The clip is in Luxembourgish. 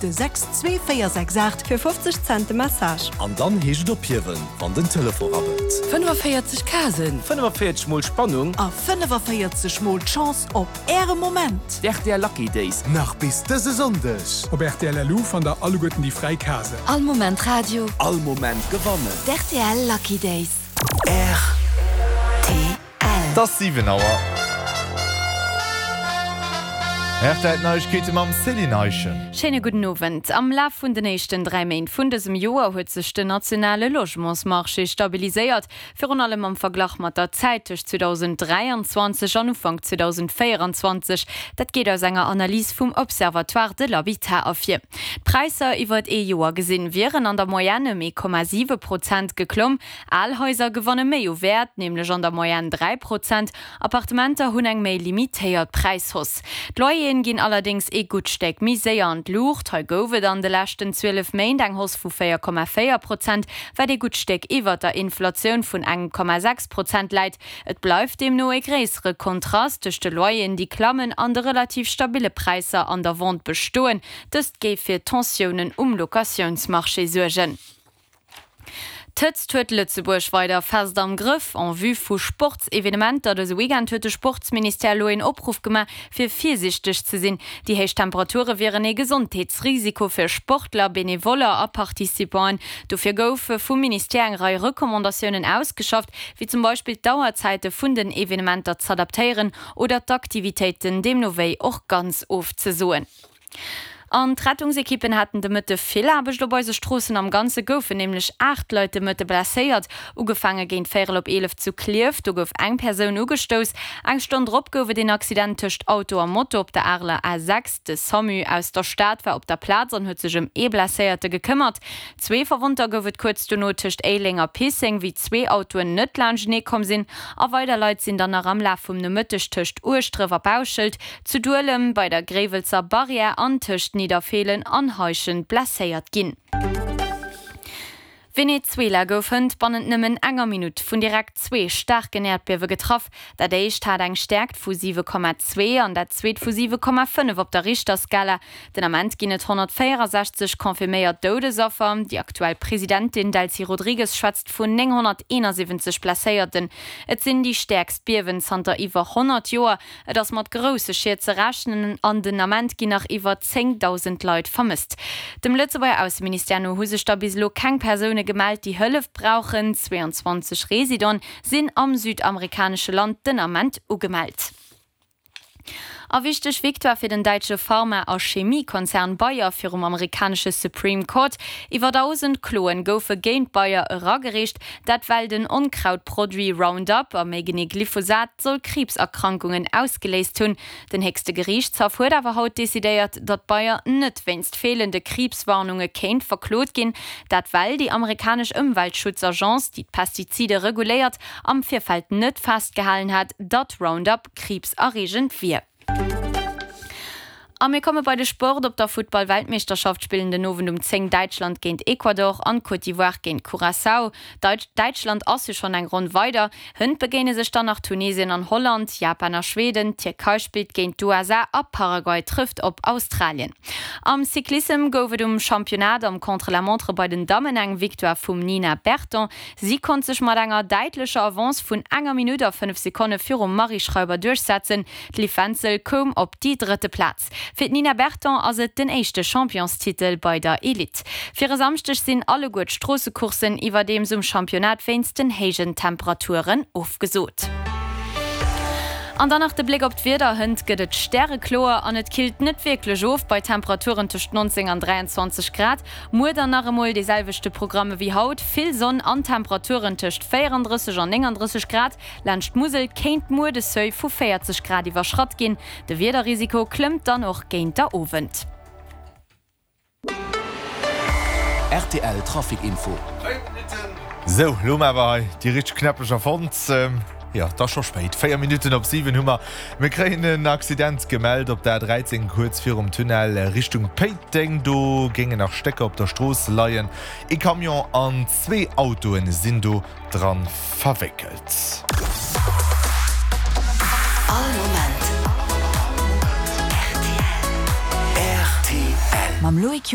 De 62468 fir 50 Cent de Message. An dann heescht et ophiewen, wann den Telefon rabbelt. 45 Casen. 45 mol Spannung. A 45 mol d'Chance op Äre Moment. D'RTL Lucky Days. Nach bis dëse Sonndeg. Op rtl LU fannt der alleguerten déi fräi Casen. All Moment Radio. All Moment gewannen. D'RTL Lucky Days. Rtl. Et ass 7 Auer. Rtl Neiegkeete mam Céline Eischen. Schéine gudden Owend. Am Laf vun den éischten 3 Méint vun dësem Joer huet sech den nationale Logementsmarché stabiliséiert, virun allem am Verglach mat der Zäit tëscht 2023 an Ufank 2024. Dat geet aus enger Analys vum Observatoire de l'habitat ervir. D'Präisser iwwert ee Joer gesinn wieren an der Moyenne ëm 1,7 Prozent geklomm. Al Haiser gewanne méi u Wäert, nämlech an der Moyenne 3 Prozent. Appartementer hunn eng méi limitéiert Präishausse. D'Loyeren ginn allerdéngs ee gutt Stéck méi séier an d'Luucht. Hei gouf et an de leschten 12 Méint eng Hausse vu 4,4 Prozent, wat ee gutt Stéck iwwert der Inflatioun vun 1,6 Prozent läit. Et bleift deemno ee gréissere Kontrast tëscht de Loyeren, déi klammen, an de relativ stabille Präisser an der Vente bestoen. Dëst géif fir Tensiounen um Locatiounsmarché suergen. D'Hëtzt huet Lëtzebuerg weider fest am Grëff. En vue vu Sportsevenementer dëse Weekend huet de Sportsministère elo een Opruff gemaach, fir virsiichteg ze sinn. Déi héich Temperature wieren ee Gesondheetsrisiko fir Sportler, Benevoller a Participanten. Dofir goufe vum Ministère eng Rei Recommandatiounen ausgeschafft, wéi zum Beispill d'Auerzäite vun den Evenementer z'adaptéieren oder d'Aktivitéiten deemno wéi och ganz ofzesoen. An d'Rettungsekippen haten de Mëtte vill Aarbecht op eise Stroossen. Am Ganze goufen nämlech 8 Leit de Mëtte blesséiert. Ugefaange géint véierel op 11 zu Klierf, do gouf eng Persoun ugestouss. Eng Stonn drop gouf et een Accident tëscht Auto a Moto op der Areler A6. De Samu aus der Stad war op der Plaz an huet sech ëm ee Blesséierte gekëmmert. Zwee Verwonnter gouf et kuerz dono tëscht Éileng a Pisseng, wéi zwee Autoen net laanschtenee komm sinn. A weider Leit sinn dann nach am Laf vum Nomëtteg tëscht Ueschdref a Bauschelt, zu Duelem, bei der Gréiwelzer Barrière an tëscht Nidderfeelen an Heischent blesséiert ginn. Venezuela gouf hënt bannent nëmmen enger Minutt vun direkt zwee staarken Äerdbiewe getraff. Dat éischt hat eng Stäerkt vu 7,2 an dat zweet vu 7,5 op der Richterskala. Den Ament ginn et 164 confirméiert Doudesaffer. Déi aktuell Presidentin Delcy Rodrigues schwätzt vun 971 Blesséierten. Et sinn déi stäerkst Biewen zanter iwwer 100 Joer. Et ass mat grousse Schied ze rechnen an den Ament ginn nach iwwer 10.000 Leit vermësst. Dem Lëtzebuerger Ausseministère no hu sech der bis elo keng Persoune gemellt, déi Hëllef brauchen. 22 Residenten sinn am südamerikanesche Land den Ament ugemellt. A wichteg Victoire fir den däitsche Pharma a Chemiekonzern Bayer virum amerikanesche Supreme Court. Iwwer 1.000 Kloen goufe géint Bayer eragereecht, dat well den Onkrautproduit Roundup, a méi genee Glyphosat, soll Kriibserkrankungen ausgeléist hunn. Den héchste Geriichtshaff huet awer haut decidéiert, datt Bayer net wéinst feelende Kriibswarnunge kéint verklot ginn. Dat well déi amerikanesch Ëmweltschutzagence, déi d'Pestizide reguléiert, am Virfeld net festgehalen hat, datt Roundup kriibserreegend wier. A mir komme bei de Sport. Op der Futtball-Weltmeeschterschaft spillen den Owend um 10 Däitschland géint Ecuador an d'Côte d'Ivoire géint Curaçao. Däitschland ass jo schonn eng Ronn weider. Hënt begéine sech dann nach Tunesien an Holland, Japan a Schweden, d'Tierkei spillt géint d'USA a Paraguay trëfft op Australien. Am Cyclissem gouf et um Championnat am Contre-la-montre bei den Dammen eng Victoire vum Nina Berton. Si konnt sech mat enger däitlecher Avance vun enger Minutt a 5 Sekonne virum Marie Schreiber duerchsetzen. D'Liv Wenzel koum op déi drëtte Plaz. Fir d'Nina Berton ass et den éischte Championstitel bei der Elite. Fir e Samschdeg sinn alleguer d'Stroossecourssen iwwerdeems um Championnat wéinst den héijen Temperaturen ofgesot. An dann nach de Bléck op d'Wieder, Hënt gëtt et stärekloer an et killt net wierklech of bei Temperaturen tëscht 19 an 23 Grad. Muer dann nach emol dee selwechte Programm ewéi haut, vill Sonn an Temperaturen tëscht 34 an 39 Grad. Laanscht d'Musel kéint muer de Seuil vu 40 Grad iwwerschratt ginn. De Wiederrisiko klëmmt dann och géint der Owend. Rtl Trafic Info. Sou, lo hu mer awer hei déi richteg Knäppecher fonnt. Jo, et ass scho spéit, 4 Minutten op 7 hu mer. Mir kréien en Accident gemellt op der A13 kuerz virum Tunnel Richtung Péiteng. Do géingen nach Stécker op der Strooss leien. Ee Camion an zwee Autoe sinn do dran verwéckelt. All Moment rtl. Mam Loïc.